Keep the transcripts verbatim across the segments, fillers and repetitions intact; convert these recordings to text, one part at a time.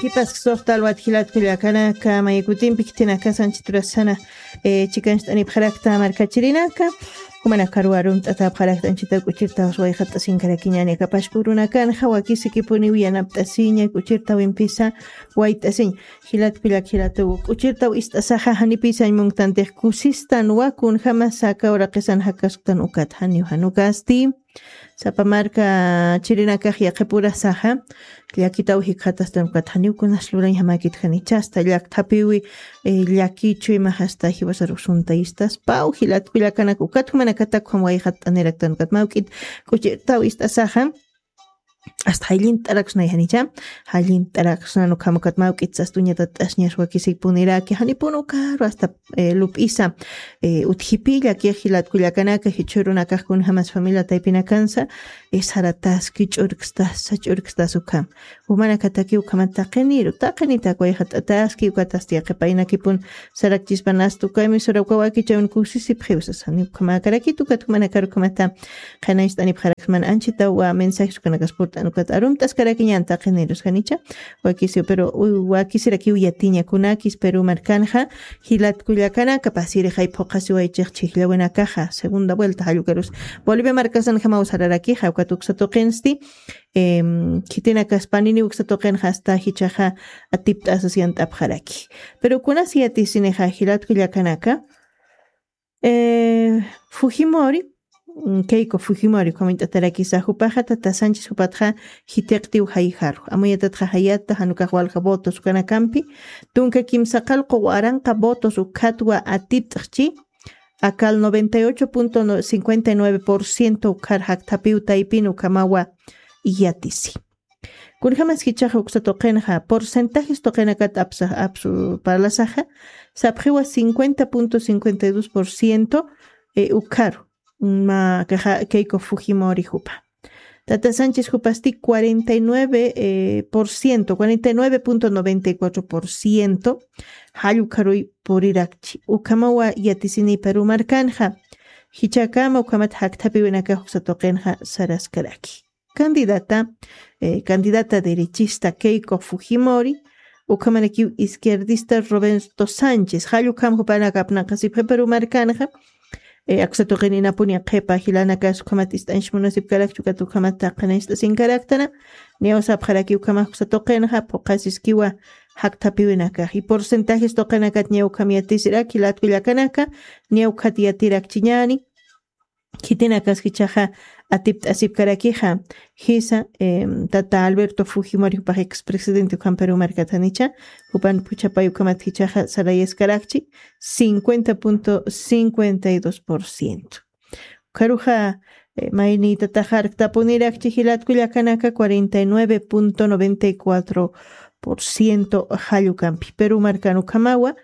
Kipas suxta alwat jilat kullakanaka, maykutimpi khitinakasan chiturasana, eh, chikancht'anipxarakta markachirinaka, jumanakaru arumt'atapxarakta anchitawk'uchirtaw wayqat'asinkarakiñani, kapashpurunakanxa wakisikipuniw yanapt'asiña, k'uchirtawimpisa wayt'asiña. Jilat kullak jilatuw, k'uchirtaw ist'asaxa janipisañ munktantix kusistan wakun jamasa kawraqisan jakasktan ukat janiw janukasti. Sapa marka chirinakax yaqhipurasaxa, llakitaw jikxatastan ukat janiw kunas lurañ jamakit janicha, asta llakthapiwi, eh, llakichu imax asta jiwasarux suntayistas, paw jilat kullakanak ukat jumanakatak jam wayqat'aniraktan ukat mawk'it k'uchirtaw ist'asaxa, asta jallint'araksnay janicha, jallint'araksnan ukham ukat mawk'it sastuñatat'asñas wakisikpuniraki, janipun ukaru asta, eh, lup'isa, eh, utjipi llakix jilat kullakanaka, jichhürunakax kunjamas familia taypinakansa, eh, sarataski ch'urkstasa, ch'urkstasa ukham. Jumanakataki ukhamat taqiniru, taqinitak wayqat'ataski, ukatasti yaqhipaynakipun sarakchispanasta ukaymi sura uka wakichawin kusisipxiw sasani, ukhamakarakit ukat jumanakaru ukhamata qhanañcht'anipxaraksman anchitaw wa mensajes ukanakas purt'an ukat arumt'askarakiñan taqinirus janicha, wakisiw, pero u-, wakisirakiw yatiña kunakis Perú markanxa, jilat kullakanaka, pasirixay phuqhasiwaychix chhijllawinakaxa, segunda vuelta jallukarus. Bolivia markasanjamaw sararakixa, ukat uksa tuqinsti, em, khitinakas panini uksa tuqinxa asta jichhaxa atipt'asas yant'apxaraki. Pero kunas yatisinixa jilat kullakanaka, eh, Fujimori, mm, Keiko Fujimori, ukhamañt'atarakisa, jupaxa tata Sánchez jupatxa jithiqtiw jayjaru. Amuyatatxa jayata, janukax walja votos ukanakampi, tunka kimsa qallqu waranqa votos ukhatwa atipt'xchi, akal noventa y ocho punto cincuenta y nueve por ciento ukhar jakthapiw taypin ukhamawa yatisi. Kunjamas jichhaxa uksa tuqinxa, porcentajes tuqinakat apsa-, apsu parlasaxa, sapxiwa cincuenta punto cincuenta y dos por ciento, eh, ukharu, ma, kaxa, Keiko Fujimori jupa. Tata Sánchez jupasti cuarenta y nueve, eh, por ciento, cuarenta y nueve punto noventa y cuatro por ciento, jall ukharuy purirakchi. Ukhamawa yatisini Perú markanxa. Jichhakama ukhamat jakthapiwinakax uksa tuqinxa saraskaraki. Candidata, eh, candidata derechista Keiko Fujimori, ukhamarakiw izquierdista Roberto Sánchez, jall ukham jupanaka apnaqasipxi Perú markanxa, eh, aksa tuqin inapuni qhipa jilanakas ukhamat ist'anch munasipkarakchi ukat ukhamat taqinancht'asinkaraktana, niyaw sapxaraki ukhamax uksa tuqinxa, phuqhasiskiwa jakthapiwinakax. Y porcentajes tuqinakat niyaw ukham yatisirak, jilat kullakanaka, niyaw ukhat yatirakchiñani, khitinakas jichhaxa atipt'asipkarakixa, jisa, em, tata Alberto Fujimori jupax expresidente ukham Perú markat janicha, jupan phuchhapay ukhamat jichhaxa sarayaskarakchi, cincuenta punto cincuenta y dos por ciento. Ukharuxa, eh, maynïtatax arktapunirakchi jilat kullakanaka, cuarenta y nueve punto noventa y cuatro por ciento jall ukampi. Perú markan ukhamawa,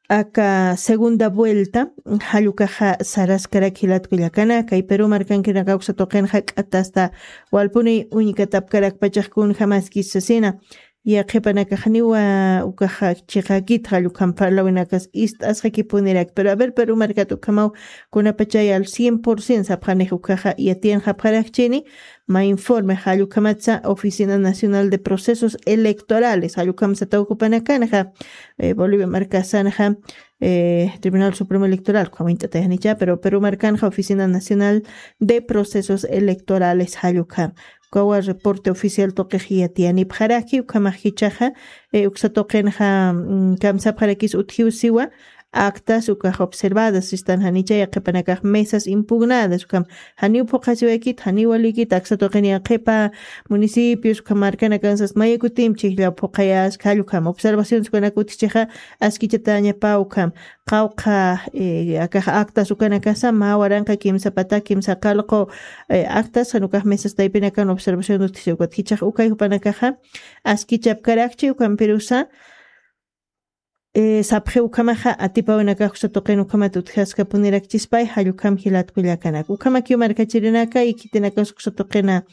aka segunda vuelta, jall ukaxa saraskarak jilat kullakanaka, y Perú markankinaka uksa tuqinxa k'atasta walpuni uñkatapkarakpachax kunjamaskis sasina. Yaqhipanakax janiwa ukaxa chiqakit jall ukham parlawinakas ist'asxakipunirak. Pero a ver, Perú markat ukhamaw kunapachay al cien por ciento sapxanix ukaxa yatiyanxapxarakchini, mä informe jall ukhamatsa Oficina Nacional de Procesos Electorales, jall ukham sataw jupanakanxa, eh, Bolivia markasanxa, eh, Tribunal Supremo Electoral, ukhamañt'atayanicha, pero Perú markanxa Oficina Nacional de Procesos Electorales jall ukham. Ukawa reporte oficial tuqix yatiyanipxaraki, ukhamax jichhaxa, eh, uksa tuqinxa, mm, kamsapxarakis utjiw siwa, actas ukax observadas sistan janicha, yaqhipanakax mesas impugnadas, ukham janiw phuqhasiwaykit, janiw walikit, aksa tuqin yaqhipa municipios, ukham markanakansas mayakutim chhijllaw phuqhayaska, jall ukham observaciones ukanak utjchixa, askichatañapa ukham, qawqha, eh, akax actas ukanakasa, mä waranqa kimsa pata, kimsa qallqu, eh, actas, jan ukax mesas taypinakan observación utjchixa ukat, jichhax ukay jupanakaxa, askichapkarakchi, ukampirusa, eh, sapxi ukhamaxa atipawinakax uksa tuqin ukhamat utjaskapunirakchispay, jall ukham jilat kullakanaka. Ukhamakiw markachirinaka, y khitinakas uksa tuqina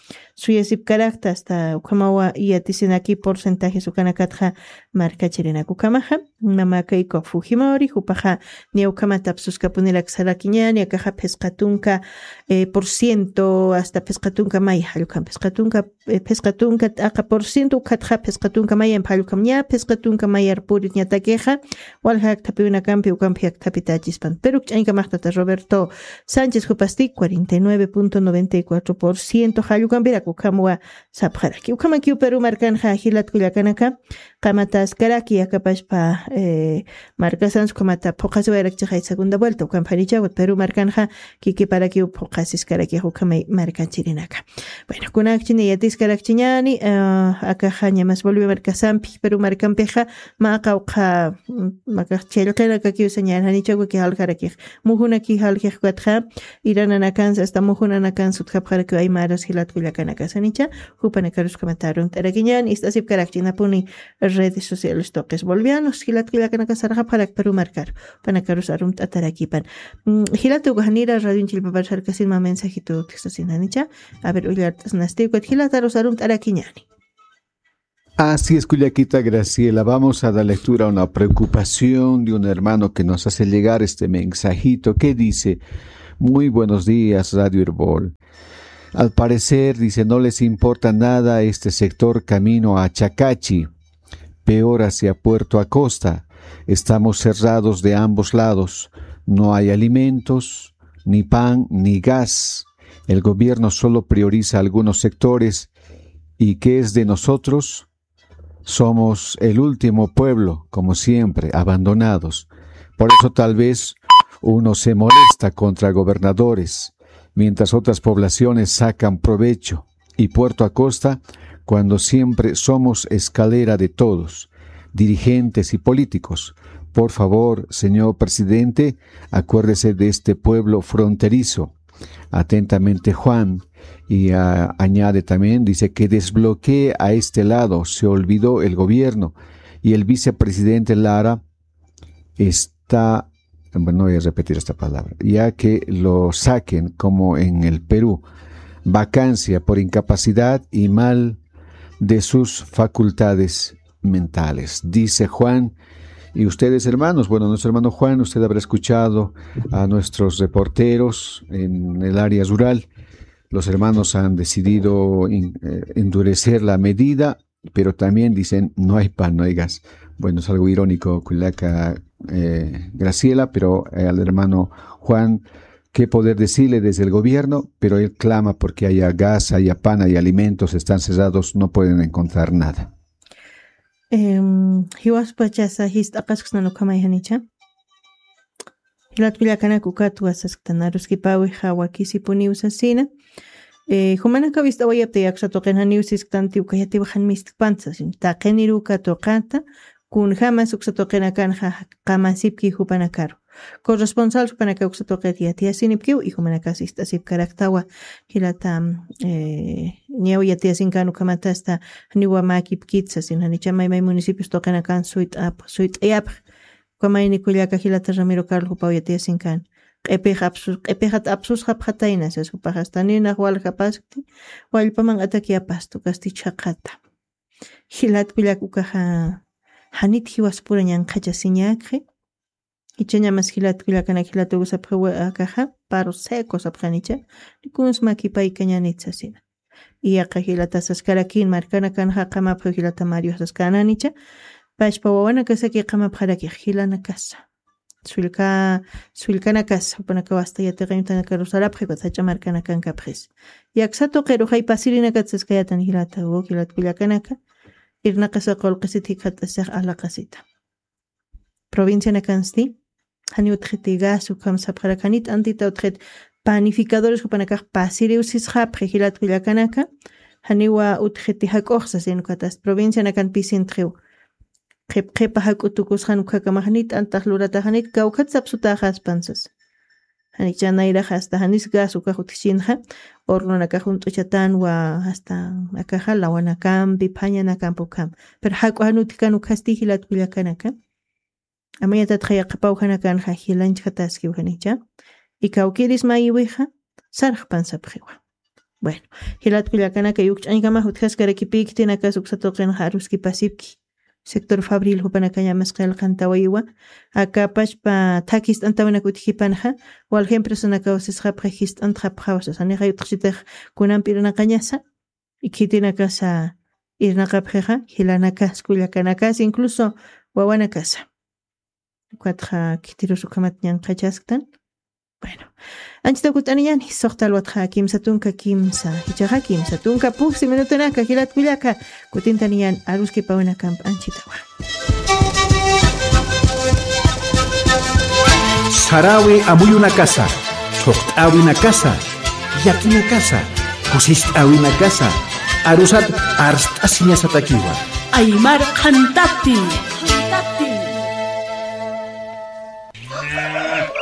suyasipkarakta hasta ukhamawa yatisinaki porcentajes ukanakatxa markachirinak ukhamaxa. Mamakayku fujimori jupaxa niya ukhamat apsuskapunirak sarakiñani akaxa phisqa tunka eh, por ciento hasta phisqa tunka may jallukam phisqa tunka eh, phisqa tunka t'aqa por ciento ukhatxa phisqa tunka may em jallukam ña phisqa tunka mayar purit ñatakixa walja akthapiwinakampi ukampi akthapitachispan pero ukch'añkamaxtata Roberto Sánchez jupasti cuarenta y nueve punto noventa y cuatro por ciento jallukampirak ukhamwa sapxaraki ukhamakiw Perú markanxa jilatkullakanaka qamataskaraki akapashpa eh, markasansu qamata phuqasiwayrakchixay segunda vuelta ukamphanichawat Perú markanxa kikiparakiw phuqasiskarakix ukhamay markachirinaka. Bueno kunakchini yatiskarakchiñani akaxa ñamas Bolivia markasampi Perú markampixa maqa uqha makax challqinakakiwsa ñananichawaki jaljarakix mujunaki jaljixkatxa irananakansa hasta mujunanakansa utjapxarakiw aymaras jilatkullakanakasanicha jupanakarus kamatarun t'arakiñan ist'asipkarakchinapuni redes sociales tuqis bolivianos jilatkullakanaka sarxapxarak Perú markaru panakarus arumt'atarakipan. Jilata ukajanira radion chillpapar sarkasinma mensajito utjsasinanicha a ver ullart'asnasti ukat jilatarus arumt'arakiñani. Así es, Cullaquita Graciela. Vamos a dar lectura a una preocupación de un hermano que nos hace llegar este mensajito que dice, muy buenos días, Radio Erbol. Al parecer, dice, no les importa nada este sector camino a Chacachi, peor hacia Puerto Acosta. Estamos cerrados de ambos lados. No hay alimentos, ni pan, ni gas. El gobierno solo prioriza algunos sectores. ¿Y qué es de nosotros? Somos el último pueblo, como siempre, abandonados. Por eso tal vez uno se molesta contra gobernadores, mientras otras poblaciones sacan provecho. Y Puerto Acosta, cuando siempre somos escalera de todos, dirigentes y políticos. Por favor, señor presidente, acuérdese de este pueblo fronterizo. Atentamente, Juan. Y ah, añade también, dice que desbloquee a este lado, se olvidó el gobierno. Y el vicepresidente Lara está, bueno, no voy a repetir esta palabra, ya que lo saquen como en el Perú, vacancia por incapacidad y mal de sus facultades mentales. Dice Juan, y ustedes hermanos, bueno, nuestro hermano Juan, usted habrá escuchado a nuestros reporteros en el área rural. Los hermanos han decidido in- eh, endurecer la medida, pero también dicen, no hay pan, no hay gas. Bueno, es algo irónico, Cullaca eh, Graciela, pero eh, al hermano Juan, ¿qué poder decirle desde el gobierno? Pero él clama porque haya gas, haya pan, haya alimentos, están cerrados, no pueden encontrar nada. Em, jiwaspachasa jist'aqasksnan ukhamay janicha. Jilatkullakanak ukat wasasktan aruskipawi jawakisipuniw sasina. Eh, jumanaka wist'awayapta yaksatuqin janiw sisktanti ukayatiw jan mistkpanta sasin taqiniruka tuqata kunjamas uksatuqinakanxa qamasipki jupanakaru. Corresponsal jupanaka uksatuqit yatiyasinipkiw y jumanakas ist'asipkaraktawa jilata eh, ñaw yatiyasinkan ukhamatasta janiwa makipkit sasin janicha maymay municipios tuqinakan suyt'ap suyt'ayapx. Ukamayni kullaka jilata Ramiro Carlos jupaw yatiyasinkan q'ipix apsus q'ipixat apsusxapxatayna sas jupaxasta ninax waljapaskti wallpaman atakyapasta ukasti chhaqata. Jilat kullak ukaxa janit jiwaspura ñanqhachasiñakxi. Ichañamas jilat kullakanak jilatukusapxi akaxa paro seco sapxanicha. Rikunsma kipaykañanit sasina. Iyaqa jilata saskarakin markanakan jaqamapxi jilata Mario saskananicha. Pashpa wawanakasaki qamapxarakix jilanakasa sullka sullkanakasa jupanakaw asta yatiqañutanakaru sarapxi ukat sach'a markanakankapxis. Yaksa tuqiruxay pasirinakat saskayatan jilata u jilat kullakanaka. Irnaqasa qullqisit jikxat'asix alaqasita. Provincianakansti jani utxiti gas ukham sapxarak janit antita utxit panificadores jupanakax pasiriw sisxapxi jilat kullakanaka. Janiwa utxiti jak'uxsa sin ukhatas provincianakan pisintxiw. Qhip qhipa jak'u tukusxan ukhakamax nit antax lurataxanit kawkhat sapsutaxaspan sas. Janikcha nayraxa asta janis gas ukax utjchinxa hornonakax junt'uchatan wa asta akaxa lawanakampi phañanakampi ukham. Pero jak'u jan utjkan ukhasti jilat kullakanaka. Amayatatxa yaqapaw janakanxa jilanchkataskiw janicha. Y kawkiris mayiwixa sarxpan sapxiwa. Bueno, jilat kullakanaka, yukch'añkama jutjaskarakipï, khitinakasa uksa tuqinxa aruskipasipki. Sector Fabril jupanakañamas qillqantawayiwa. Aka pachpa thak jist'antawinak utjipanxa, walja empresanakaw sisxapxi jist'antxapxawa sasa, nixa yutxchitix kunampi irnaqañasa, khitinakasa irnaqapxixa, jilanakas, kullakanakas, incluso wawanakasa. Ukatxa khitirus ukhamat ñanqhachasktan. Bueno, anchita kut'aniyani, suxta alwatxa kimsa tunka kimsa, jichhaxa kimsa tunka puksi minutunaka, jilat kullaka, kutintaniyan aruskipawinakamp anchitawa. Sarawi amuyunakasa, thuqt'awinakasa, yakinakasa, kusist'awinakasa, arusat arst'asiñasatakiwa. Aymar qhantati.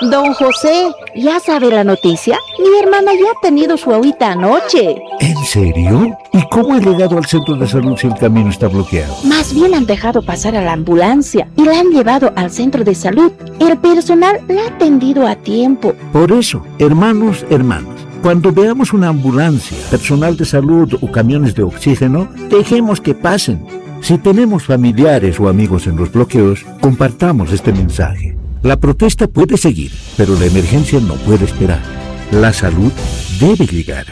Don José, ¿ya sabe la noticia? Mi hermana ya ha tenido su agüita anoche. ¿En serio? ¿Y cómo ha llegado al centro de salud si el camino está bloqueado? Más bien han dejado pasar a la ambulancia y la han llevado al centro de salud. El personal la ha atendido a tiempo. Por eso, hermanos, hermanas, cuando veamos una ambulancia, personal de salud o camiones de oxígeno, dejemos que pasen. Si tenemos familiares o amigos en los bloqueos, compartamos este mensaje. La protesta puede seguir, pero la emergencia no puede esperar. La salud debe llegar.